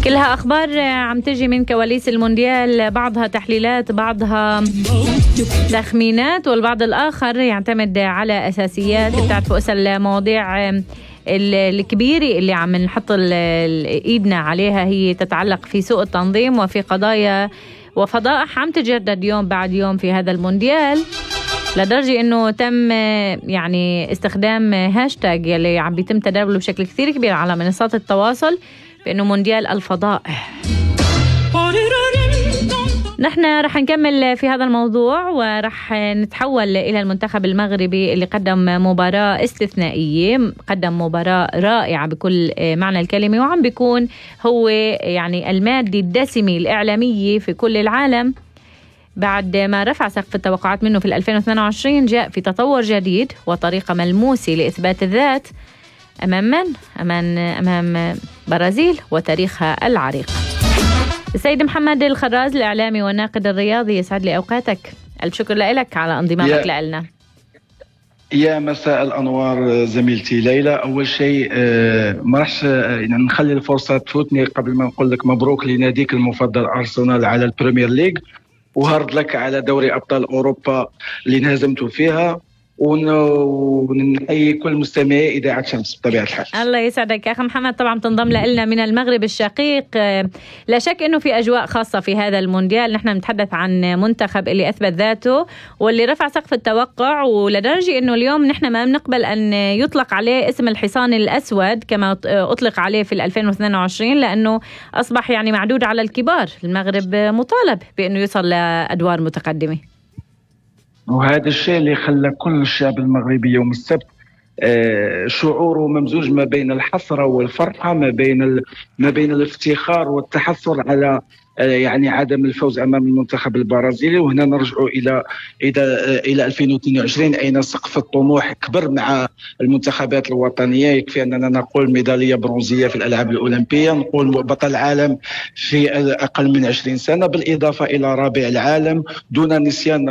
كلها أخبار عم تجي من كواليس المونديال، بعضها تحليلات، بعضها تخمينات، والبعض الآخر يعتمد على أساسيات. بتعرفوا اسا المواضيع الكبيرة اللي عم نحط إيدنا عليها هي تتعلق في سوء التنظيم وفي قضايا وفضائح عم تجدد يوم بعد يوم في هذا المونديال، لدرجة انه تم يعني استخدام هاشتاج يلي عم بيتم تداوله بشكل كثير كبير على منصات التواصل بانه مونديال الفضائح. نحن رح نكمل في هذا الموضوع ورح نتحول إلى المنتخب المغربي اللي قدم مباراة استثنائية، قدم مباراة رائعة بكل معنى الكلمة، وعم بيكون هو يعني المادة الدسمة الإعلامية في كل العالم. بعد ما رفع سقف التوقعات منه في 2022 جاء في تطور جديد وطريقة ملموسة لإثبات الذات أمام من؟ أمام برازيل وتاريخها العريق. السيد محمد الخراز الإعلامي والناقد الرياضي، يسعد لي أوقاتك. ألف شكر لك على انضمامك لنا. يا مساء الأنوار زميلتي ليلى. أول شيء ما رحش نخلي الفرصة تفوتني قبل ما نقول لك مبروك لناديك المفضل أرسنال على البريمير ليج، وهارد لك على دوري أبطال أوروبا اللي انهزمتوا فيها، ونحيي كل مستمعي إذاعة شمس بطبيعة الحال. الله يسعدك يا أخي محمد. طبعا تنضم لنا من المغرب الشقيق. لا شك أنه في أجواء خاصة في هذا المونديال. نحن نتحدث عن منتخب اللي أثبت ذاته واللي رفع سقف التوقع، ولدرجة أنه اليوم نحن ما بنقبل أن يطلق عليه اسم الحصان الأسود كما أطلق عليه في 2022، لأنه أصبح يعني معدود على الكبار. المغرب مطالب بأنه يصل لأدوار متقدمة، وهذا الشيء اللي خلى كل الشعب المغربي يوم السبت شعوره ممزوج ما بين الحسرة والفرحة، ما بين الافتخار والتحسر على يعني عدم الفوز امام المنتخب البرازيلي. وهنا نرجع الى 2022 اين سقف الطموح كبر مع المنتخبات الوطنيه. يكفي اننا نقول ميداليه برونزيه في الالعاب الاولمبيه، نقول بطل العالم في اقل من 20 سنه، بالاضافه الى رابع العالم دون نسيان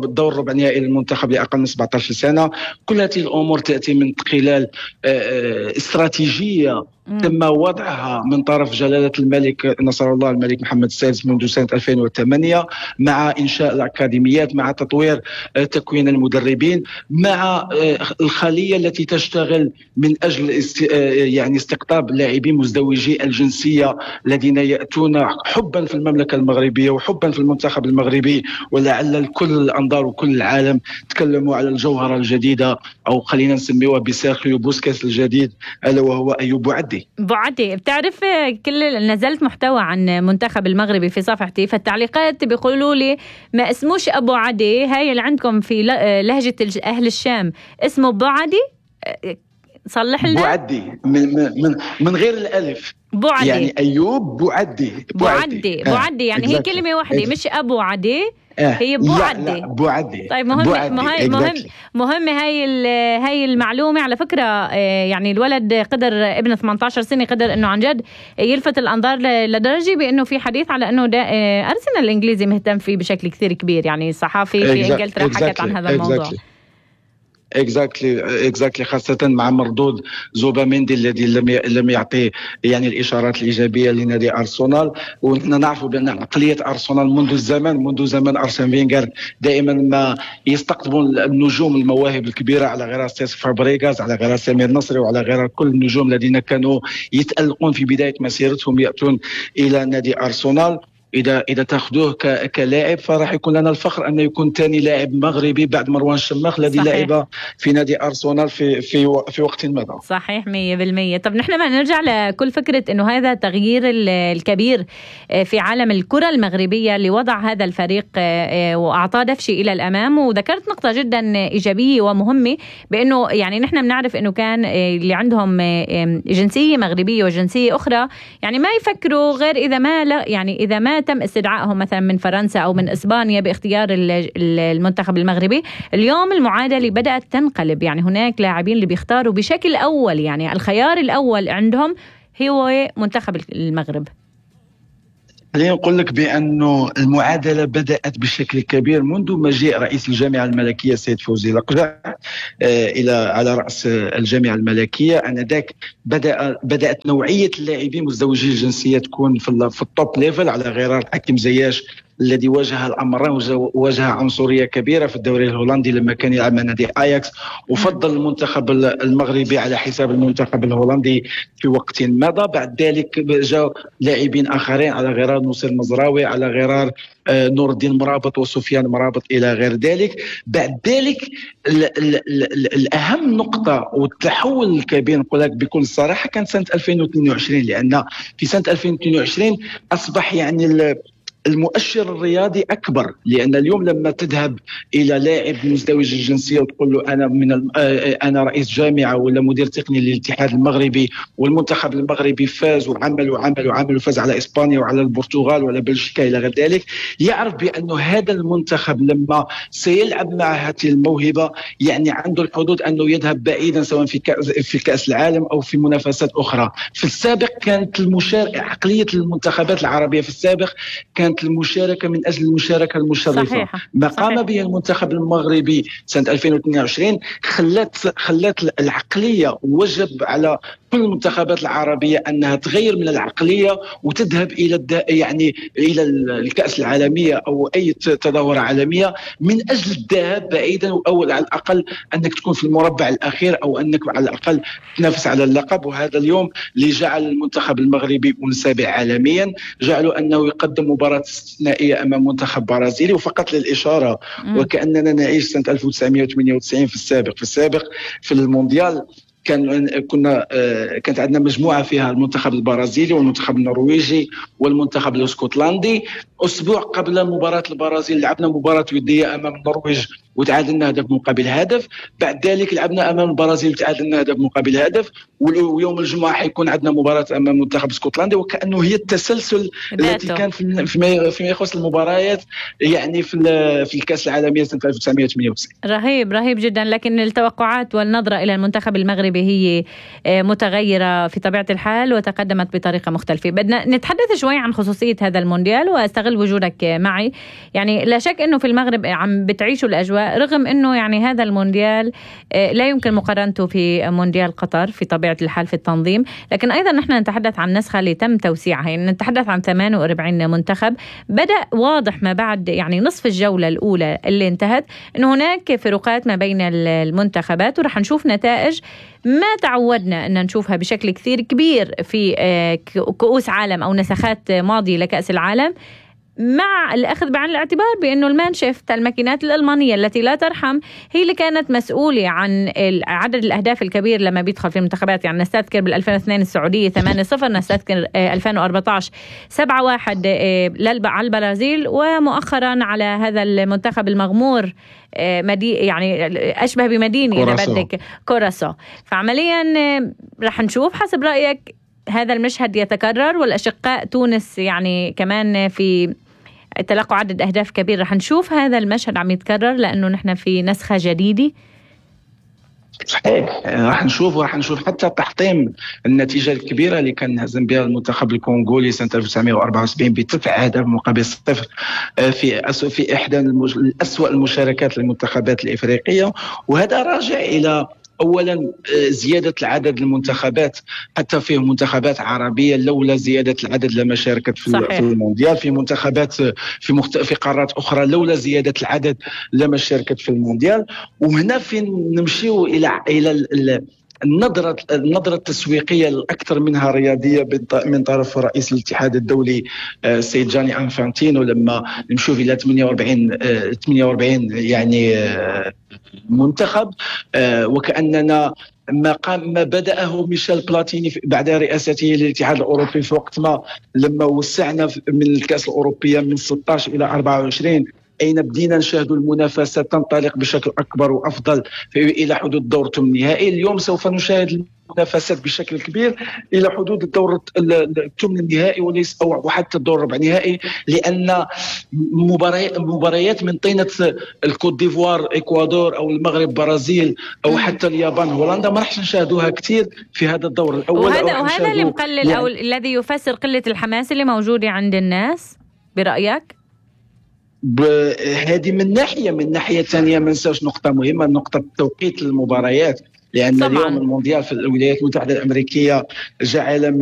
دور ربع نهائي للمنتخب لاقل من 17 سنه. كل هذه الامور تاتي من خلال استراتيجيه تم وضعها من طرف جلالة الملك نصر الله الملك محمد السادس منذ سنة 2008، مع إنشاء الأكاديميات، مع تطوير تكوين المدربين، مع الخلية التي تشتغل من أجل يعني استقطاب لاعبين مزدوجي الجنسية الذين يأتون حبا في المملكة المغربية وحبا في المنتخب المغربي. ولعل كل الأنظار وكل العالم تكلموا على الجوهرة الجديدة، أو خلينا نسميها بسيرخيو بوسكيس الجديد، ألا وهو أيوب بوعدي. بتعرف كل نزلت محتوى عن منتخب المغربي في صفحتي، فالتعليقات بيقولوا لي ما اسموش أبو عدي، هاي اللي عندكم في لهجة أهل الشام اسمه أبو عدي، صلح لنا. بوعدي من غير الألف، بوعدي يعني أيوب بوعدي بوعدي يعني هي كلمة واحدة مش أبو عدي، هي بوعدي. بوعدي. طيب مهم هاي المعلومة على فكرة. يعني الولد قدر ابن 18 سنة قدر انه عن جد يلفت الانظار لدرجة بانه في حديث على انه ارسنال الانجليزي مهتم فيه بشكل كثير كبير. يعني الصحافي في انجلترا حكت عن هذا الموضوع. exactly خاصة مع مردود زوباميندي الذي لم يعطي يعني الإشارات الإيجابية لنادي أرسنال. ونحن نعرف بأن عقلية أرسنال منذ زمن أرسن فينغر دائما ما يستقطبون النجوم المواهب الكبيرة، على غير سيس فابريغاس، على غير سمير نصري، وعلى غير كل النجوم الذين كانوا يتألقون في بداية مسيرتهم يأتون إلى نادي أرسنال. إذا تأخذوه كلاعب فراح يكون لنا الفخر أن يكون ثاني لاعب مغربي بعد مروان شماخ الذي لعب في نادي أرسنال في وقت مضى. صحيح 100%. طب نحن ما نرجع لكل فكرة أنه هذا التغيير الكبير في عالم الكرة المغربية اللي وضع هذا الفريق وأعطاه دفشة إلى الأمام. وذكرت نقطة جدا إيجابية ومهمة، بأنه يعني نحن بنعرف أنه كان اللي عندهم جنسية مغربية وجنسية أخرى يعني ما يفكروا غير إذا ما تم استدعائهم مثلا من فرنسا أو من إسبانيا باختيار المنتخب المغربي. اليوم المعادلة بدأت تنقلب، يعني هناك لاعبين اللي بيختاروا بشكل أول، يعني الخيار الأول عندهم هو منتخب المغرب. خليني نقول لك بأنه المعادلة بدأت بشكل كبير منذ مجيء رئيس الجامعة الملكية السيد فوزي لقجع على رأس الجامعة الملكية. آنذاك بدأت نوعية اللاعبين مزدوجي الجنسية تكون في التوب ليفل، على غرار حكيم زياش الذي واجه الأمرين، واجه عنصرية كبيرة في الدوري الهولندي لما كان يلعب مع نادي أياكس، وفضل المنتخب المغربي على حساب المنتخب الهولندي في وقت مضى. بعد ذلك جاء لاعبين آخرين على غرار نصير مزراوي، على غرار نور الدين مرابط وسفيان مرابط إلى غير ذلك. بعد ذلك الأهم نقطة والتحول الكبير نقول لك بكل صراحة كانت سنة 2022، لأن في سنة 2022 أصبح يعني المؤشر الرياضي أكبر، لأن اليوم لما تذهب إلى لاعب مزدوج الجنسية وتقول له أنا رئيس جامعة ولا مدير تقني للاتحاد المغربي والمنتخب المغربي فاز وعمل وفاز على إسبانيا وعلى البرتغال ولا بلجيكا إلى غير ذلك، يعرف بأنه هذا المنتخب لما سيلعب مع هذه الموهبة يعني عنده الحدود أنه يذهب بعيدا، سواء في كأس العالم أو في منافسات أخرى. في السابق كانت عقلية المنتخبات العربية في السابق كانت المشاركة من أجل المشاركة المشرفة. صحيح. ما قام به المنتخب المغربي سنة 2022 خلت العقلية، وجب على كل المنتخبات العربية أنها تغير من العقلية وتذهب إلى الكأس العالمية أو أي تظاهرة عالمية من أجل الذهاب بعيدا، أو على الأقل أنك تكون في المربع الأخير، أو أنك على الأقل تنافس على اللقب. وهذا اليوم اللي جعل المنتخب المغربي منسابع عالميا، جعلوا أنه يقدم مباراة استثنائية أمام منتخب برازيلي. وفقط للإشارة وكأننا نعيش سنة 1998 في السابق في المونديال كانت عندنا مجموعة فيها المنتخب البرازيلي والمنتخب النرويجي والمنتخب الاسكتلندي. أسبوع قبل مباراة البرازيل لعبنا مباراة ودية أمام النرويج وتعادلنا هدف مقابل هدف. بعد ذلك لعبنا أمام البرازيل وتعادلنا هدف مقابل هدف. ويوم الجمعة حيكون عندنا مباراة أمام منتخب اسكتلندا. وكأنه هي التسلسل التي كان فيما يخص المباريات يعني في الكأس العالمية سنة 1998. رهيب جدا. لكن التوقعات والنظرة إلى المنتخب المغربي هي متغيرة في طبيعة الحال وتقدمت بطريقة مختلفة. بدنا نتحدث شوي عن خصوصية هذا المونديال واستغل وجودك معي. يعني لا شك أنه في المغرب عم بتعيشوا الأجواء، رغم أنه يعني هذا المونديال لا يمكن مقارنته في مونديال قطر في طبيعة الحال في التنظيم. لكن أيضا نحن نتحدث عن نسخة اللي تم توسيعها، يعني نتحدث عن 48 منتخب. بدأ واضح ما بعد يعني نصف الجولة الأولى اللي انتهت أنه هناك فروقات ما بين المنتخبات، ورح نشوف نتائج ما تعودنا أن نشوفها بشكل كثير كبير في كؤوس عالم أو نسخات ماضية لكأس العالم، مع الأخذ بعين الاعتبار بأنه المانشيفت الماكينات الألمانية التي لا ترحم هي اللي كانت مسؤولة عن عدد الأهداف الكبير لما بيدخل في المنتخبات. يعني نستذكر بال2002 السعودية 8-0، نستذكر 2014 7-1 على البرازيل، ومؤخرا على هذا المنتخب المغمور يعني أشبه بمدينة إذا بدك كوراسو. فعمليا رح نشوف حسب رأيك هذا المشهد يتكرر، والأشقاء تونس يعني كمان في تلقوا عدد أهداف كبير، رح نشوف هذا المشهد عم يتكرر لأنه نحن في نسخة جديدة. صحيح، راح نشوف حتى تحطيم النتيجة الكبيرة اللي كان هزم بها المنتخب الكونغولي سنة 1974 ب9 أهداف مقابل 0 في إحدى الأسوأ المشاركات للمنتخبات الإفريقية. وهذا راجع إلى أولا زيادة العدد المنتخبات، حتى فيه منتخبات عربية لولا زيادة العدد لما شاركت في المونديال، في منتخبات في قارات أخرى لولا زيادة العدد لما شاركت في المونديال. وهنا فين نمشيو إلى النظرة التسويقية الأكثر منها رياضية من طرف رئيس الاتحاد الدولي السيد جاني أنفانتينو، لما نشوف إلى 48 يعني منتخب، وكأننا ما بدأه ميشيل بلاتيني بعد رئاسته للاتحاد الأوروبي في وقت ما لما وسعنا من الكأس الأوروبية من 16 إلى 24 أين بدينا نشاهد المنافسة تنطلق بشكل أكبر وأفضل إلى حدود دور ثمن النهائي. اليوم سوف نشاهد المنافسات بشكل كبير إلى حدود الدور الثمن النهائي وليس أو حتى الدور ربع نهائي، لأن مباريات من طينة الكوت ديفوار إكوادور أو المغرب برازيل أو حتى اليابان هولندا ما راح نشاهدوها كثير في هذا الدور الأول. وهذا اللي مقلل أو الذي يفسر قلة الحماس اللي موجودة عند الناس برأيك؟ هذه من ناحية ثانية ما ننساوش نقطة مهمة، نقطة توقيت المباريات، لأن اليوم المونديال في الولايات المتحدة الأمريكية جعل